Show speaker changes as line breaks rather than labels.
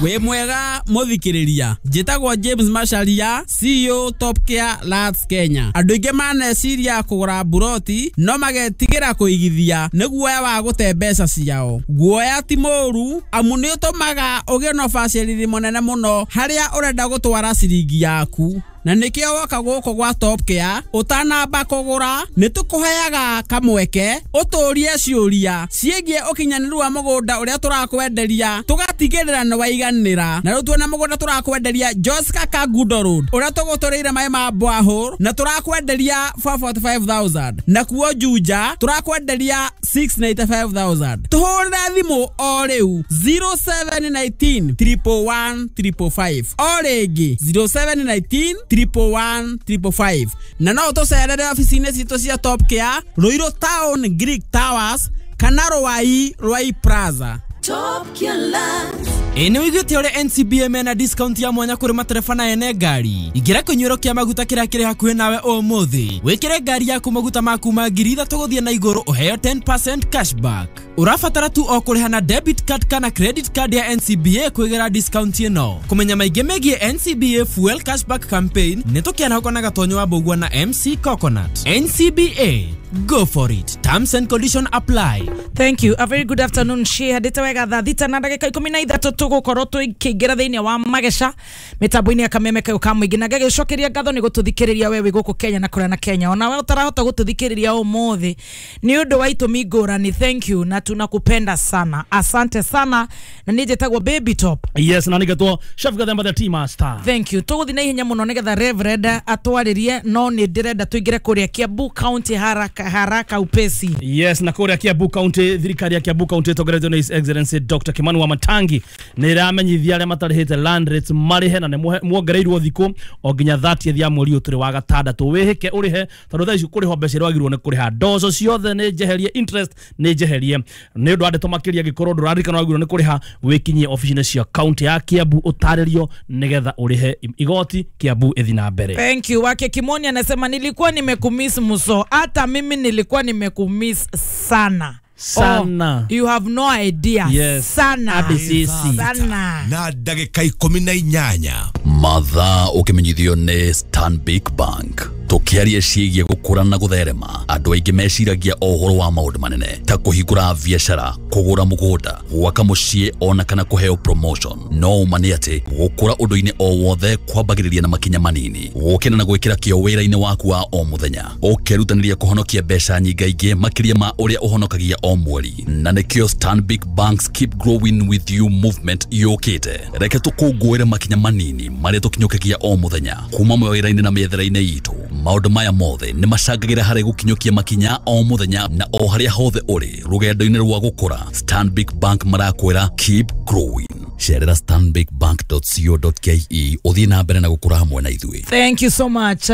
Wĩ mwega mũthikĩrĩria, njĩtagwo James Macharia, CEO Top Care Lands Kenya. Andũ aingĩ maneciria kũgũra mburoti no magetigĩra kũigithia nĩ guoya wa gũte mbeca ciao. Guoya ti mũũru amu nĩ ũtũmaga ũgĩe na ũbacĩrĩri mũnene mũno harĩa ũrenda gũtwara ciringi yaku, na nĩkĩo woka gũkũ gwa Top Care ũtanamba kũgũra nĩ tũkũheaga kamweke ũtũrie ciũria ciĩgiĩ ũkinyanĩru wa mũgũnda ũrĩa tũrakwenderia, tũgatigĩrĩra nĩ waiganĩra. Na rĩu tuona mũgũnda tũrakwenderia Joska Kangundo Road ũrĩa tũgũtũrĩire maĩ ma borehole na tũrakwenderia 445,000, nakuo Juja tũrakwenderia 695,000. Tũhũrĩre thimũ o rĩu 0719 111 555, o rĩngĩ 0719 111 555, na no ũtũcerere obici-inĩ citũ cia Top Care, Ruiru Town, Greek Towers kana Ruai, Ruai Plaza.
Top Care Lands.
Ĩ nĩ wĩiguĩte ũrĩa NCBA mena discount ya mwanya kũrĩ matereba na ene ngari? Ingĩra kĩnyuĩro kĩa maguta kĩrĩa kĩrĩ hakuhĩ nawe ũmũthĩ, wĩkĩre ngari yaku maguta ma kuma 3,000 gũthiĩ na igũrũ, ũheo 10% cashback. Ũrabatara tu o kũrĩha na debit card kana credit card ya NCBA kwĩgĩra discount ĩno. Kũmenya maingĩ megiĩ NCBA Fuel Cashback Campaign nĩ tũkĩarahũka na Gatonyo wa Mbũgua na MC Coconut. NCBA, go for it. Terms and condition apply.
Thank you. A very good afternoon. Cihandĩte wega thaa 6 na ndagĩka 13, tũgũkorwo tũkĩingĩra thĩinĩ wa mageca mĩtambo-inĩ ya kameme kayũ ka mũingĩ, na ngagĩcokeria ngatho nĩ gũtũthikĩrĩria we wĩ gũkũ Kenya na kũrĩa na Kenya, ona we ũtarahota gũtũthikĩrĩria ũmũthĩ nĩ ũndũ wa itũmi ngũrani. Thank you na tunakupenda sana, asante sana. Na niĩ njĩtagwo Baby Top.
Yes, na nĩgetwo Chef Gathemba, the tea master.
Thank you. Tũgũthiĩ na ihenya mũno nĩgetha Reverend atwarĩrie, no nĩ ndĩrenda tũingĩre kũrĩa Kiambu County haraka haraka upesi.
Yes, na kũrĩa Kiambu County, thirikari ya Kiambu County ĩtongoretio nĩ His Excellency Dr. Kimani Wamatangi nĩ ĩramenyithia arĩa matarĩhĩte land rates marĩhe, na nĩ muongereirwo thikũ o nginya 30th ya mweri ũyũ tũrĩ wa gatandatũ. Wĩhĩke ũrĩhe, tondũ thaa ici kũrĩhwo mbeca iria wagĩrĩirwo nĩ kũrĩha, ndoco ciothe nĩ njeherie, interest nĩ njeherie. Nĩ ũndũ wa ndeto makĩria, angĩkorwo ndũraririkana wagĩrĩirwo nĩ kũrĩha, wĩkinyie obici-inĩ cia county ya Kiambu ũtarĩrio nĩgetha ũrĩhe igoti, Kiambu ĩthi na mbere.
Thank you. Wake Kimoni anasema, "Nilikuwa nimekumiss muso." Hata mimi nilikuwa nimekumiss sana.
Sana.
Oh, you have no idea.
Yes.
Sana.
Hadi sisi.
Sana.
Na ndagĩka 18.
Mathaa ũkĩmenyithio nĩ Stanbic Bank. Tũkĩaria ciĩgiĩ gũkũra na gũtherema, andũ aingĩ meciragia o ũhoro wa maũndũ manene ta kũhingũra biacara, kũgũra mũgũnda, gwaka mũciĩ ona kana kũheo promotion. No ũma nĩ atĩ gũkũra ũndũ-inĩ o wothe kwambagĩrĩria na makinya manini, gũkĩra na gwĩkĩra kĩo wĩra-inĩ waku wa o mũthenya, ũkerutanĩria kũhonokia mbeca nyingaingĩ makĩria ma ũrĩa ũhonokagia o mweri. Na nĩkĩo Stanbic Bank's Keep Growing With You movement yũkĩte. Reke tũkũngũĩre makinya manini marĩa tũkinyũkagia o mũthenya kuma mawĩra-inĩ na mĩethere-inĩ itũ. Maũndũ maya mothe nĩ macangagĩra harĩ gũkinyũkia makinya o mũthenya na o harĩa hothe ũrĩ rũgendo-inĩ rwa gũkũra. Stanbic Bank marakwĩra, "Keep growing." Cerera stanbicbank.co.ke ũthiĩ na mbere na gũkũra hamwe na ithuĩ.
Thank you so much.